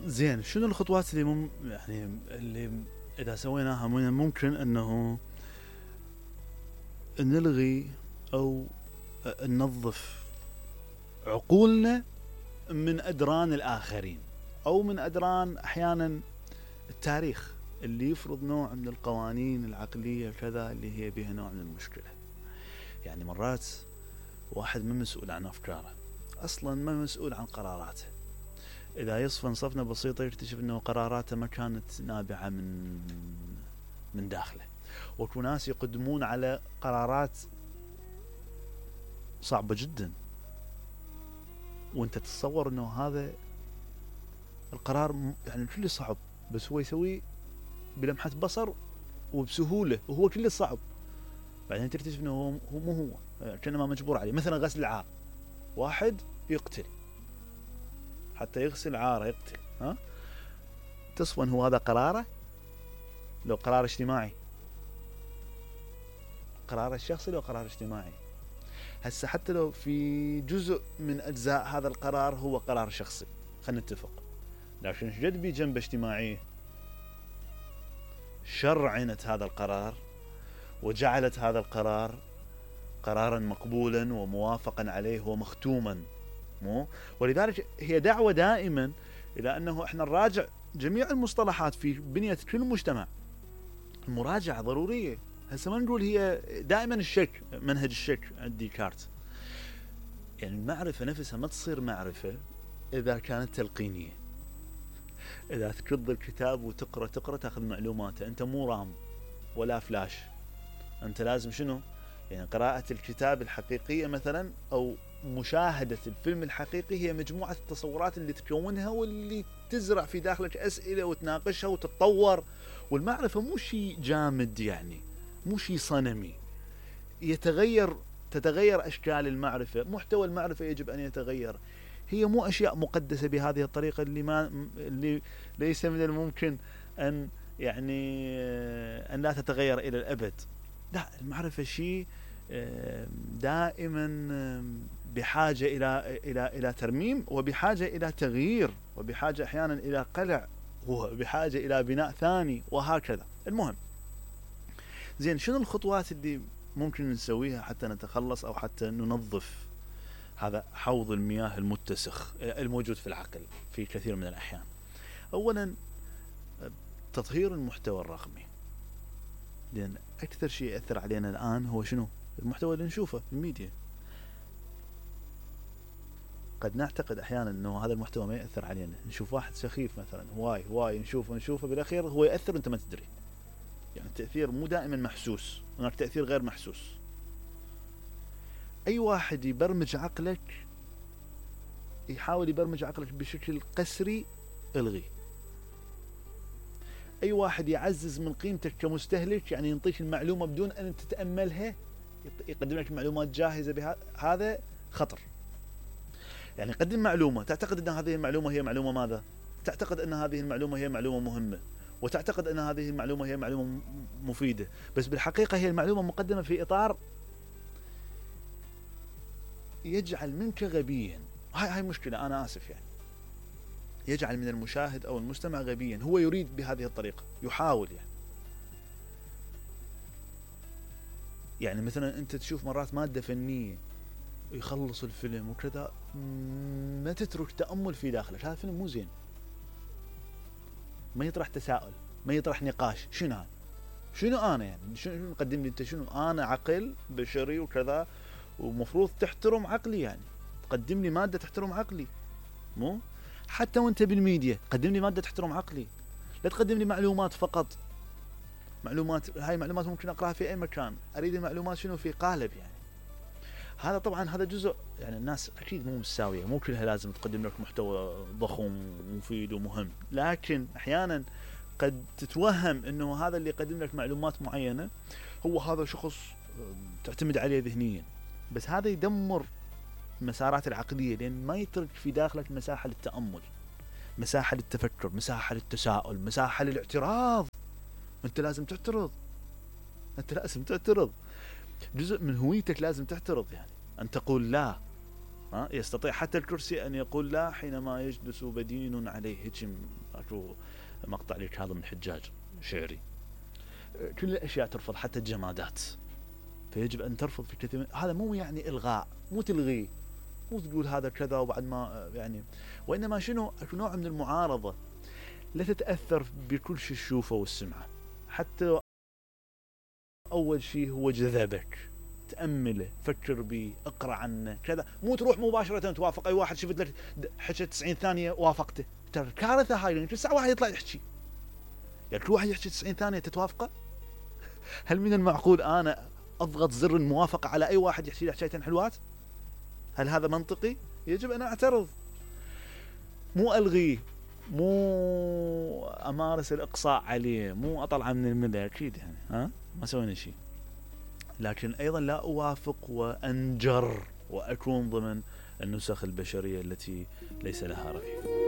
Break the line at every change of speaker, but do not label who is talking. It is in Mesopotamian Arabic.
زين، شنو الخطوات اللي يعني اللي اذا سويناها من الممكن انه نلغي او ننظف عقولنا من ادران الاخرين، او من ادران احيانا التاريخ اللي يفرض نوع من القوانين العقلية كذا اللي هي بها نوع من المشكلة. يعني مرات واحد ما مسؤول عن افكاره، اصلا ما مسؤول عن قراراته. اذا يصفن صفنة بسيطة يكتشف انه قراراته ما كانت نابعة من داخله. وكو ناس يقدمون على قرارات صعبة جدا، وانت تتصور انه هذا القرار يعني كله صعب، بس هو يسويه بلمحة بصر وبسهولة، وهو كله صعب. بعدين تكتشف انه هو مو هو، كأنه ما مجبور عليه. مثلا غسل العار، واحد يقتل حتى يغسل عاره، يقتل. ها تصفن هو هذا قراره؟ لو قرار اجتماعي، قرار الشخصي لو قرار اجتماعي. هسه حتى لو في جزء من اجزاء هذا القرار هو قرار شخصي، خلينا نتفق، لكن ايش قد بي جنبه اجتماعيه شرعنت هذا القرار وجعلت هذا القرار قرارا مقبولا وموافقا عليه ومختوما. مو ولذلك هي دعوة دائما الى انه احنا نراجع جميع المصطلحات في بنية كل مجتمع. المراجعة ضرورية. هسه ما نقول هي دائما الشك، منهج الشك عند ديكارت. يعني المعرفة نفسها ما تصير معرفة اذا كانت تلقينية. اذا تكض الكتاب وتقرأ تاخذ معلوماته، انت مو رام ولا فلاش، انت لازم شنو؟ يعني قراءة الكتاب الحقيقية مثلا او مشاهدة الفيلم الحقيقي هي مجموعة التصورات اللي تكونها واللي تزرع في داخلك اسئلة وتناقشها وتتطور. والمعرفة مو شيء جامد، يعني مو شيء صنمي تتغير اشكال المعرفة، محتوى المعرفة يجب ان يتغير. هي مو اشياء مقدسة بهذه الطريقة اللي ليس من الممكن ان يعني ان لا تتغير الى الابد. لا، المعرفة شيء دائما بحاجة إلى ترميم، وبحاجة إلى تغيير، وبحاجة أحيانا إلى قلع، وبحاجة إلى بناء ثاني، وهكذا. المهم، زين، شنو الخطوات اللي ممكن نسويها حتى نتخلص أو حتى ننظف هذا حوض المياه المتسخ الموجود في العقل في كثير من الأحيان؟ أولا، تطهير المحتوى الرقمي، لأن أكثر شيء يأثر علينا الآن هو شنو؟ المحتوى اللي نشوفه في الميديا. قد نعتقد أحيانا أنه هذا المحتوى ما يأثر علينا، نشوف واحد سخيف مثلا هواي نشوفه بالأخير هو يأثر وأنت ما تدري. يعني التأثير مو دائما محسوس، هناك تأثير غير محسوس. أي واحد يبرمج عقلك، يحاول يبرمج عقلك بشكل قسري، الغي. أي واحد يعزز من قيمتك كمستهلك، يعني ينطيك المعلومة بدون أن تتأملها، يقدم لك معلومات جاهزة، هذا خطر. يعني قدم معلومة تعتقد أن هذه المعلومة هي معلومة ماذا؟ تعتقد أن هذه المعلومة هي معلومة مهمة، وتعتقد أن هذه المعلومة هي معلومة مفيدة، بس بالحقيقة هي المعلومة مقدمة في إطار يجعل منك غبيا. هاي مشكلة، أنا آسف، يعني يجعل من المشاهد أو المستمع غبيا. هو يريد بهذه الطريقة، يحاول يعني مثلا أنت تشوف مرات مادة فنية يخلص الفيلم وكذا، ما تترك تأمل في داخلك، هذا الفيلم مو زين، ما يطرح تساؤل، ما يطرح نقاش. شنو أنا يعني شنو مقدم لي أنت؟ شنو أنا؟ عقل بشري وكذا، ومفروض تحترم عقلي، يعني تقدم لي مادة تحترم عقلي. مو حتى وانت بالميديا قدم لي مادة تحترم عقلي، لا تقدم لي معلومات فقط. هاي معلومات ممكن أقرأها في أي مكان، أريد المعلومات شنو في قالب. يعني هذا طبعا هذا جزء، يعني الناس أكيد مو مستوية، مو كلها لازم تقدم لك محتوى ضخم ومفيد ومهم، لكن أحيانا قد تتوهم أنه هذا اللي يقدم لك معلومات معينة هو هذا شخص تعتمد عليه ذهنيا، بس هذا يدمر المسارات العقلية، لأن ما يترك في داخلك مساحة للتأمل، مساحة للتفكر، مساحة للتساؤل، مساحة للاعتراض. أنت لازم تعترض، جزء من هويتك لازم تعترض، يعني أن تقول لا، يستطيع حتى الكرسي أن يقول لا حينما يجلس بدين عليه. هيك اكو مقطع لكاظم الحجاج شعري. كل الأشياء ترفض، حتى الجمادات، فيجب أن ترفض في كثير هذا مو يعني إلغاء، مو تلغيه، مو تقول هذا كذا وبعد ما يعني، وإنما شنو اكو نوع من المعارضة، لا تتأثر بكل شيء تشوفه والسمعه، حتى أول شيء هو جذبك، تأمله، فكر به، اقرأ عنه كذا، مو تروح مباشرة توافق أي واحد شفت لك حكى 90 ثانية وافقته. ترى كارثة هاي، لأن كل ساعة واحد يطلع يحكي، يعني كل واحد يحكي 90 ثانية تتوافقه؟ هل من المعقول أنا أضغط زر الموافقة على أي واحد يحكي لي حكايتين حلوات؟ هل هذا منطقي؟ يجب أن أعترض، مو ألغيه، مو أمارس الإقصاء عليه، مو أطلع من الملة، أكيد يعني ما سوينا شيء، لكن أيضا لا أوافق وأنجر وأكون ضمن النسخ البشرية التي ليس لها رأي.